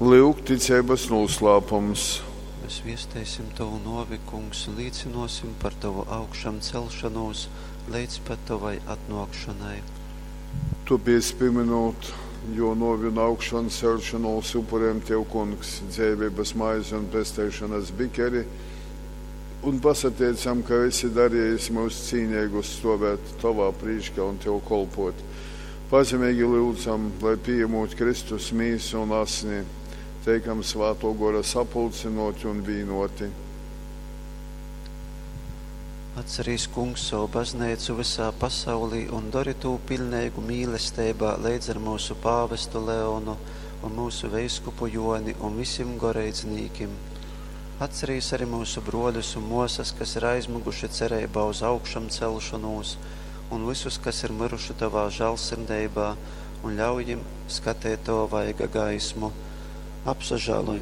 Lyuk ticeibas nūslāpums. Mēs viesteisim tovu nōvi, Kungs, un līcynōsim par tovu augšamceļšonūs leidz pat tovai atnōkšonai. Tōpēc, pīmynūt jō nōvi un augšanceļšonūs, upurejam tev, Kungs, dzeiveibas maizi un pesteišonas bikeri un pasateicam, ka esi darejis myus cīneigus stōvēt tovā prīškā un tev kolpōt. Pazemeigi lyudzam, lai, pījamūt Kristus mīsu un asni, teikam Svātō Gora sapulcynōti un vīnōti. Atcerīs, Kungs, sovu bazneicu vysā pasaulī un dori tū piļneigu mīlesteibā leidz ar myusu pāvestu Leonu un myusu veiskupu Jōni un visim goreidznīkim. Atcerīs ari myusu brōļus un mōsas, kas ir aizmyguši cereibā uz augšamceļšonūs, un vysus, kas ir myruši tovā žāļsirdeibā, un ļauj jim skateit tova vaiga gaismu. Apsažāloj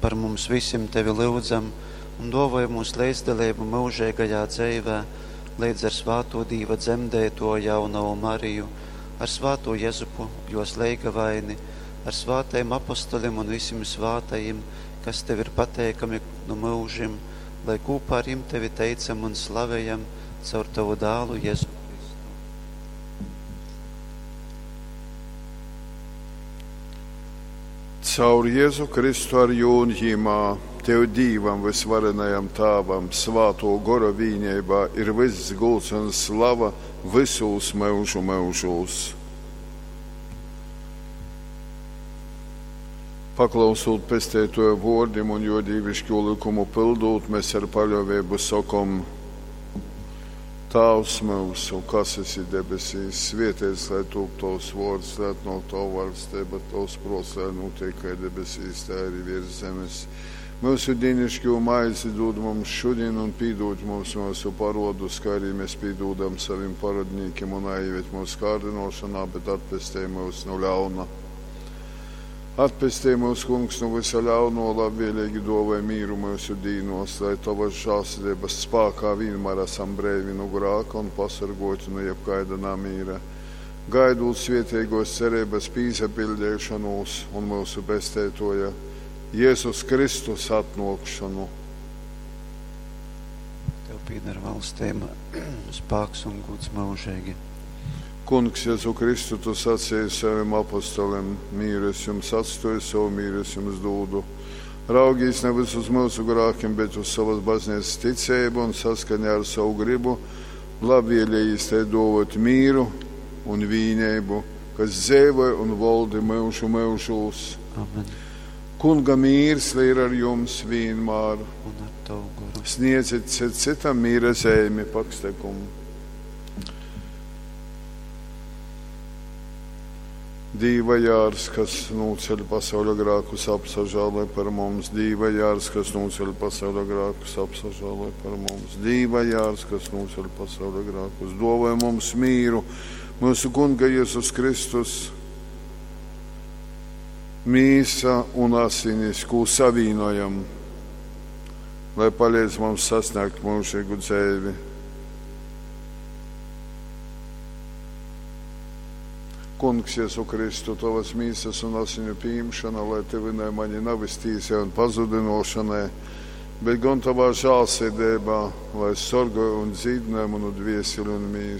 par mums visim, tevi lyudzam, un dōvoj mums leidzdaleibu myužeigajā dzeivē, leidz ar svātū Dīva dzemdeitōju jaunovu Mariju, ar svātū Jezupu, jōs leigavaini, ar svātajim apostolim un visim svātajim, kas tev ir pateikami nu myužim, lai kūpā ar jim tevi teicam un slavejam caur tovu dālu Jezu Kristu. Caur Jezu Kristu ar jū un jimā, tev Dīvam vysvarenajam Tāvam, Svātō Gora vīneibā ir vyss gūds un slava vysūs myužu myužūs. Paklausūt Pesteitōja vōrdim un jō dīviškū lykumu pyldūt, mes ar paļōveibu sokom: Tāvs myusu, kas esi debesīs, svēteits lai tūp tovs vōrds, lai atnōk tova vaļsteiba, tovs prōts, lai nūteik kai debesīs, tai arī viers zemes. Myusu dīnišķo maizi dūd mums šodien un pīdūd mums myusu parodus, kā arī mēs pīdūdam savim parodnīkiem un naieved mūsu kārdinošanā, bet atpestej mūs no ļauna. Atpestej mūs, Kungs, no visa ļauno, labvēlīgi dāvāj mīru mūsu dīnos, lai tavas žēlsirdības spākā vienmēr esam breivi no grāka un pasargoti no jebkaida namīra. Gaidot svētīgos cerības pīsapildīšanos un mūsu pestētoja Jēzus Kristus atnākšanu. Tev pieder valstība, spēks un gods mūžīgi. Kungs, Jēzu Kristu, tu sacīji saviem apostoliem, mīru es jums atstoju, savu mīru es jums dūdu. Raugīs nevis uz mūsu grākiem, bet uz savas baznīcas ticību un saskaņā ar savu gribu, labvēlījis te dovot mīru un vīnību, kas dzīvoja un valdi mūžu mūžūs. Amen. Kunga mīrs lai ir ar jums vienmēr. Un ar tavu goru. Sniedziet citam mīra zīmi pakstekumu. Dīva jārs, kas nūceļ pasauļa grākus, apsažāloj par mums. Dīva jārs, kas nūceļ pasauļa grākus, apsažāloj par mums. Dīva jārs, kas nūceļ pasauļa grākus, dāvāj mums mīru. Mūsu Kunga Jēzus Kristus mīsa un asinis, ko savīnojam, lai palīdz mums sasniegt mūžīgu dzīvi. Kungs, Jēzu Kristu, tavas mīsas un asiņu pieņemšana, lai tevi mani nevis tīsai un pazudinošanai, bet gan tavā žēlsirdībā, lai sargāju un dzīdināju manu dvieseli un mīsu.